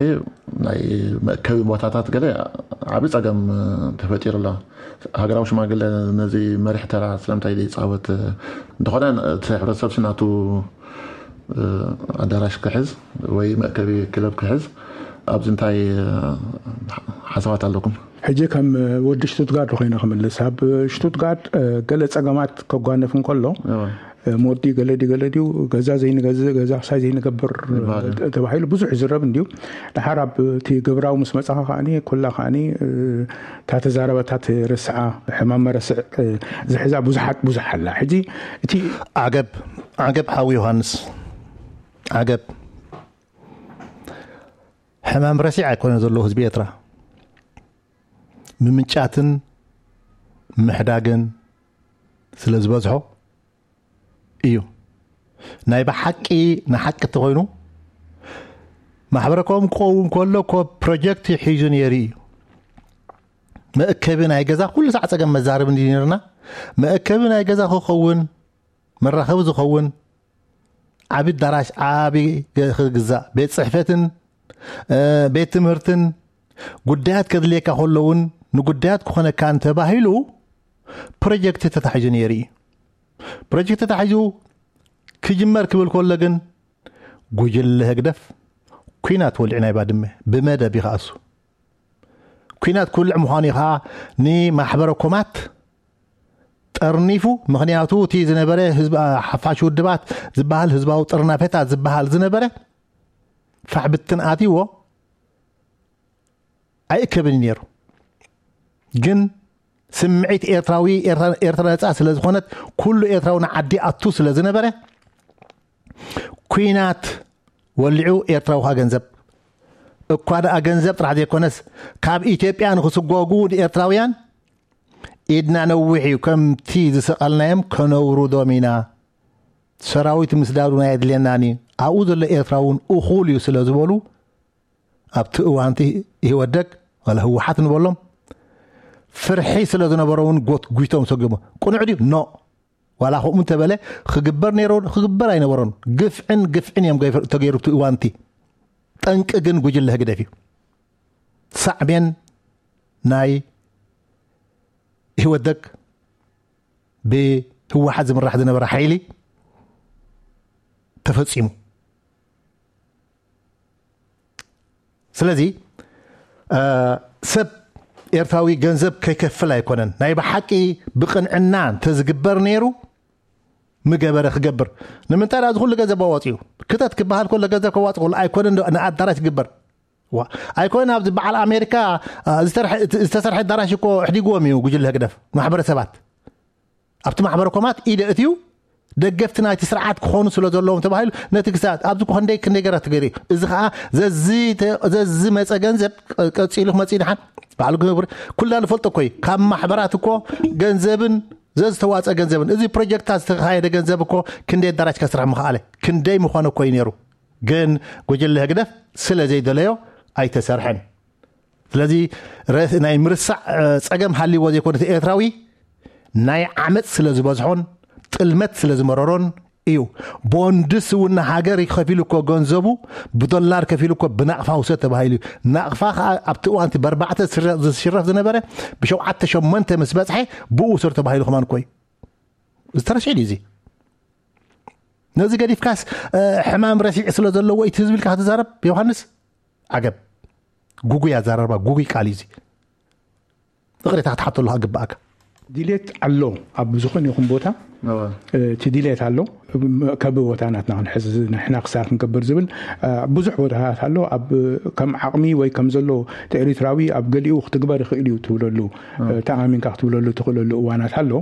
ናይ መእከቢ ቦታታት ገለ ዓቢ ጸገም ተፈጢሩ ኣሎ። ሃገራዊ ሽማግለ ነዚ መሪሕ ተራ ስለምንታይ ዘይጻወት? እንተኾነ እቲ ሕብረተሰብ ስናቱ ኣዳራሽ ክሕዝ ወይ መእከቢ ክለብ ክሕዝ ኣብዚ እንታይ ሓሳባት ኣለኩም? ሕጂ ከም ወዲ ሽቱትጋርድ ኮይነ ክምልስ፣ ኣብ ሽቱትጋርድ ገለ ጸገማት ከጓነፍ እንከሎ፣ ሞዲ ገለ ድዩ ገለ ድዩ፣ ገዛ ዘይንገዝእ፣ ገዛ ክሳይ ዘይንገብር ተባሂሉ ብዙሕ ይዝረብ እንድዩ። ድሓር ኣብ እቲ ግብራዊ ምስ መጻኻ ከዓኒ ኩላ ከዓኒ እታ ተዛረበታ ትርስዓ ሕማም መረስዕ ዝሕዛ ብዙሓት ብዙሕ ኣላ። ሕጂ እቲ ዓገብ ዓገብ ሓዊ ዮሃንስ ዓገብ ሕማም ረሲዕ ኣይኮነ ዘለዎ ህዝቢ ኤርትራ ምምንጫትን ምሕዳግን ስለ ዝበዝሖ እዩ። ናይ ብሓቂ ንሓቂ ተኮይኑ ማሕበረኮም ክኸውን ከሎ ኮ ፕሮጀክት ሒዙ ነይሩ እዩ። መእከቢ ናይ ገዛ ኩሉ ሳዕ ጸገም መዛረብ እንዲ ነርና መእከቢ ናይ ገዛ ክኸውን መራኸቢ ዝኸውን ዓቢ ኣዳራሽ ዓቢ ክግዛእ ቤት ጽሕፈትን ቤት ትምህርትን ጉዳያት ከድልየካ ከለውን ንጉዳያት ክኾነካ እንተባሂሉ ፕሮጀክት ተታሒዙ ነይሩ እዩ። ፕሮጀክት ተታሒዙ ክጅመር ክብል ከሎ ግን ጉጅለ ህግደፍ ኩናት ወልዑ ናይ ባድመ ብመደብ ይኸኣሱ ኩናት ክውልዕ ምዃኑ እዩ ከዓ ንማሕበረ ኮማት ጠርኒፉ። ምኽንያቱ እቲ ዝነበረ ህዝብ ሓፋሽ ውድባት ዝበሃል ህዝባዊ ጥርናፌታት ዝበሃል ዝነበረ ፋሕ ብትን ኣትይዎ ኣይእከብን እዩ ነይሩ። ግን ስምዒት ኤርትራዊ ኤርትራ ነፃ ስለ ዝኾነት ኩሉ ኤርትራዊ ንዓዲ ኣቱ ስለ ዝነበረ ኩናት ወሊዑ ኤርትራዊ ካ ገንዘብ እኳ ደኣ ገንዘብ ጥራሕ ዘይኮነስ ካብ ኢትዮጵያ ንክስጎጉ ንኤርትራውያን ኢድና ነዊሕ እዩ። ከምቲ ዝሰቐልናዮም ከነውርዶም ኢና። ሰራዊት ምስዳዱ ናይ ኣድልየናን እዩ። ኣብኡ ዘሎ ኤርትራ እውን እኹል እዩ ስለ ዝበሉ ኣብቲ እዋንቲ ኢህወደግ ዋላ ህወሓት ንበሎም ፍርሒ ስለ ዝነበሮ እውን ጎትጒቶም ሰጉሞ ቅኑዕ ድዩ ኖ ዋላ ከምኡ እንተበለ ክግበር ነይሮ ክግበር ኣይነበሮን። ግፍዕን ግፍዕን እዮም ገይፈ- ተገይሩ እቲ እዋንቲ ጠንቂ ግን ጉጅለ ህግደፍ እዩ። ሳዕቤን ናይ ኢህወደግ ብህወሓት ዝምራሕ ዝነበረ ሓይሊ ተፈፂሙ። ስለዚ ሰብ ኤርትራዊ ገንዘብ ከይከፍል ኣይኮነን። ናይ ብሓቂ ብቕንዕና እንተዝግበር ነይሩ ምገበረ ክገብር። ንምንታይ ደኣ እዚ ኩሉ ገንዘብ ኣዋፂኡ ክተት ክበሃል ከሎ ገንዘብ ከዋፅ ከሎ ኣይኮነን ንኣዳራሽ ዝግበር ዋ ኣይኮነን ኣብዚ በዓል ኣሜሪካ ዝተሰርሐ ኣዳራሽ እኮ ኣሕዲግዎም እዩ ጉጅለ ህግደፍ ማሕበረሰባት ኣብቲ ማሕበረ ኮማት ኢደ እትዩ ደገፍቲ ናይቲ ስርዓት ክኾኑ ስለ ዘለዎም ተባሂሉ ነቲ ክሳት ኣብዚ ኮ ክንደይ ክንደይ ገራ ትገሪ እዚ ከዓ ዘዚ መፀ ገንዘብ ቀፂሉ ክመፅእ ድሓን ባዕሉ ክነብር ኩልና ንፈልጦ እኮ እዩ። ካብ ማሕበራት እኮ ገንዘብን ዘዝተዋፀ ገንዘብን እዚ ፕሮጀክታት ዝተካየደ ገንዘብ እኮ ክንደይ ኣዳራሽ ከስራሕ ምኽኣለ ክንደይ ምኾነ እኮ እዩ ነይሩ። ግን ጉጅለ ህግደፍ ስለ ዘይደለዮ ኣይተሰርሐን። ስለዚ ናይ ምርሳዕ ፀገም ሃልይዎ ዘይኮነ እቲ ኤርትራዊ ናይ ዓመፅ ስለ ዝበዝሖን ጥልመት ስለ ዝመረሮን እዩ። ቦንድስ እውን ንሃገር ከፊሉ እኮ ገንዘቡ ብዶላር ከፊሉ እኮ ብናቕፋ ውሰድ ተባሂሉ እዩ። ናቕፋ ከዓ ኣብቲ እዋንቲ በርባዕተ ዝሽረፍ ዝነበረ ብሸውዓተ ሸሞንተ ምስ በፅሐ ብኡ ውሰድ ተባሂሉ ከማን እኮ እዩ። ዝተረስዒ ድዩ እዚ? ነዚ ገዲፍካስ ሕማም ረሲዕ ስለ ዘለዎ እቲ ህዝቢ ኢልካ ክትዛረብ ዮሃንስ ዓገብ። ጉጉይ ኣዛራርባ ጉጉይ ቃል እዩ እዚ። ይቕሬታ ክትሓተሉ ግብኣካ። ድሌት ኣሎ ኣብ ዝኾነ ይኹን ቦታ እቲ ድሌት ኣሎ። ከቢ ቦታ ናትና ክንሕዝ ንሕና ክሳብ ክንገብር ዝብል ብዙሕ ቦታታት ኣሎ። ኣብ ከም ዓቕሚ ወይ ከም ዘሎ እቲ ኤሪትራዊ ኣብ ገሊኡ ክትግበር ይኽእል እዩ ትብለሉ ተኣሚንካ ክትብለሉ ትኽእለሉ እዋናት ኣሎ።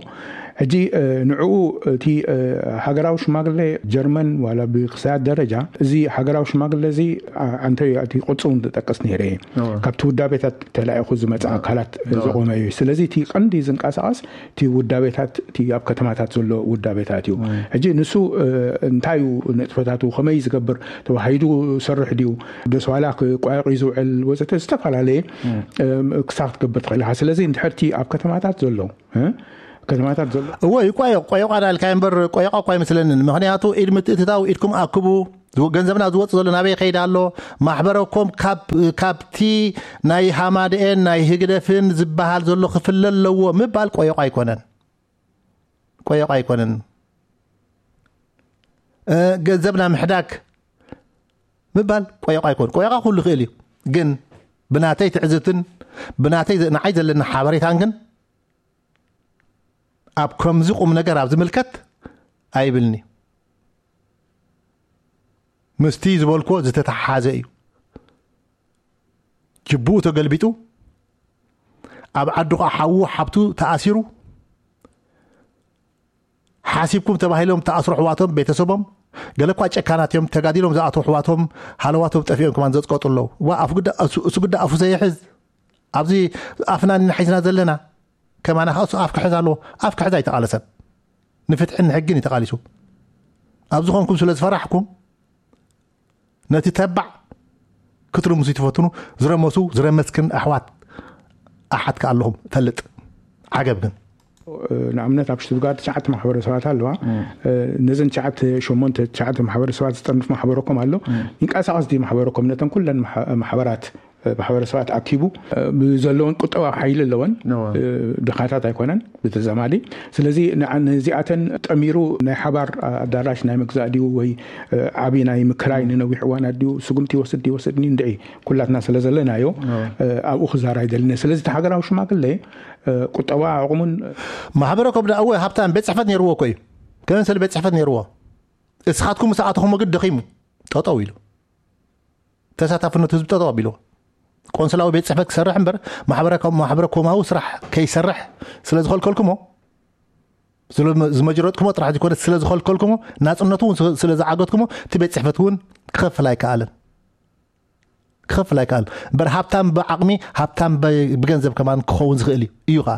ሕጂ ንዕኡ እቲ ሃገራዊ ሽማግሌ ጀርመን ዋላ ብክሳያት ደረጃ እዚ ሃገራዊ ሽማግሌ እዚ ኣንተ እቲ ቅርጹ እውን ዝጠቅስ ነይረ እየ። ካብቲ ውዳቤታት ተላኢኹ ዝመጽእ ኣካላት ዝቆመ እዩ። ስለዚ እቲ ቀንዲ ዝንቀሳቐስ እቲ ውዳቤታት እቲ ኣብ ከተማታት ዘሎ ውዳቤታት እዩ። ሕጂ ንሱ እንታይ እዩ ንጥፈታቱ ከመይ ዝገብር ተዋሂዱ ሰርሕ ድዩ ደስ ዋላ ክቋየቕ እዩ ዝውዕል ወዘተ ዝተፈላለየ ክሳብ ክትገብር ትኽእል ኢኻ። ስለዚ እንድሕር እቲ ኣብ ከተማታት ዘሎ ከተማታት ዘሎ እዎ ይቋየቕ ቆየቋ ዳልካ እምበር ቆየቋ እኳ ኣይመስለንን። ምክንያቱ ኢድ ምትእትታው ኢድኩም ኣክቡ ዝወ-፣ ገንዘብና ዝወጽእ ዘሎ ናበይ ከይድ ኣሎ? ማሕበረኮም ካብ፣ ካብቲ ናይ ሃማደኤን ናይ ህግደፍን ዝበሃል ዘሎ ክፍለ ኣለዎ ምባል ቆየቋ ኣይኮነን። ቆየቋ ኣይኮነን። እ፣ ገንዘብና ምሕዳግ ምባል ቆየቋ ኣይኮን። ቆየቋ ኩሉ ይኽእል እዩ። ግን ብናተይ ትዕዝብትን ብናተይ ዘ-፣ ንዓይ ዘለና ሓበሬታን ግን ኣብ ከምዚ ቁም ነገር ኣብ ዝምልከት ኣይብልኒ። ምስቲ ዝበልኮ ዝተተሓሓዘ እዩ። ጅቡኡ ተገልቢጡ፣ ኣብ ዓዱ ኸዓ ሓዉ ሓብቱ ተኣሲሩ፣ ሓሲብኩም ተባሂሎም ተኣስሩ ኣሕዋቶም፣ ቤተሰቦም፣ ገለ እኳ ጨካናት እዮም፣ ተጋዲሎም ዝኣትዉ ኣሕዋቶም፣ ሃለዋቶም ጠፊኦም ከማን ዘጽቀጡ ኣለዉ። ዋ፣ ኣፍ ጉዳ-፣ እሱ፣ እሱ ጉዳ ኣፉ ዘይሕዝ፣ ኣብዚ ኣፍና ኢና ሒዝና ዘለና፣ ከማና ኸዓ እሱ ኣፍ ክሕዝ ኣለዎ። ኣፍ ክሕዝ ኣይተቓለሰን። ንፍትሕን ንሕግን እዩ ተቓሊሱ። ኣብ ዝኾንኩም ስለ ዝፈራሕኩም፣ ነቲ ተባዕ ክትርምሱ ትፈትኑ፣ ዝረመሱ፣ ዝረመስክን ኣሕዋት ኣሓት ከኣ ኣለኹም፣ ፈልጥ። ዓገብ ግን። ንኣብነት ኣብ ሽቱትጋርት ትሽዓተ ማሕበረሰባት ኣለዋ። ነዘን ትሽዓተ፣ ሸሞንተ፣ ትሽዓተ ማሕበረሰባት ዝጠርንፍ ማሕበረኮም ኣሎ። ይንቀሳቐስ ድዩ ማሕበረኮም ነተን ኩለን ማሕ-፣ ማሕበራት፣ ማሕበረሰባት ኣኪቡ ብዘለወን ቁጠባዊ ሓይሊ ኣለወን። እወ። ድኻታት ኣይኮነን ብተዛማዲ። ስለዚ ንዓ-፣ ነዚኣተን ጠሚሩ ናይ ሓባር ኣዳራሽ ናይ ምግዛእ ድዩ ወይ ዓቢ ናይ ምክራይ ንነዊሕ እዋናት ድዩ ስጉምቲ ይወስድ ይወስድኒ እንድዒ ኩላትና ስለ ዘለናዮ እወ። ኣብኡ ክዛራ ይደልነ። ስለዚ እቲ ሃገራዊ ሽማግለ ቁጠባ ዓቕሙን ማሕበረ ኮም ደኣ እወ ሃብታም ቤት ጽሕፈት ነይርዎ እኮ እዩ። ከመሰለ ቤት ጽሕፈት ነይርዎ። እስኻትኩም ምስ ኣተኹሞ ግን ደኺሙ ጠጠው ኢሉ። ተሳታፍነት ህዝቢ ጠጠው ኣቢልዎ። ቆንስላዊ ቤት ጽሕፈት ክሰርሕ እምበር ማሕበረ-፣ ማሕበረ ኮማዊ ስራሕ ከይሰርሕ ስለ ዝኸልከልኩሞ፣ ስለ ዝመ-፣ ዝመጅረጥኩሞ ጥራሕ ዘይኮነ ስለ ዝኸልከልኩሞ፣ ናጽነቱ እውን ስለ፣ ስለ ዝዓገትኩሞ፣ እቲ ቤት ጽሕፈት እውን ክኸፍል ኣይከኣለን። ክኸፍል ኣይከኣል። እምበር ሃብታም ብዓቕሚ፣ ሃብታም ብ-፣ ብገንዘብ ከማን ክኸውን ዝኽእል እዩ። እዩ ኸኣ።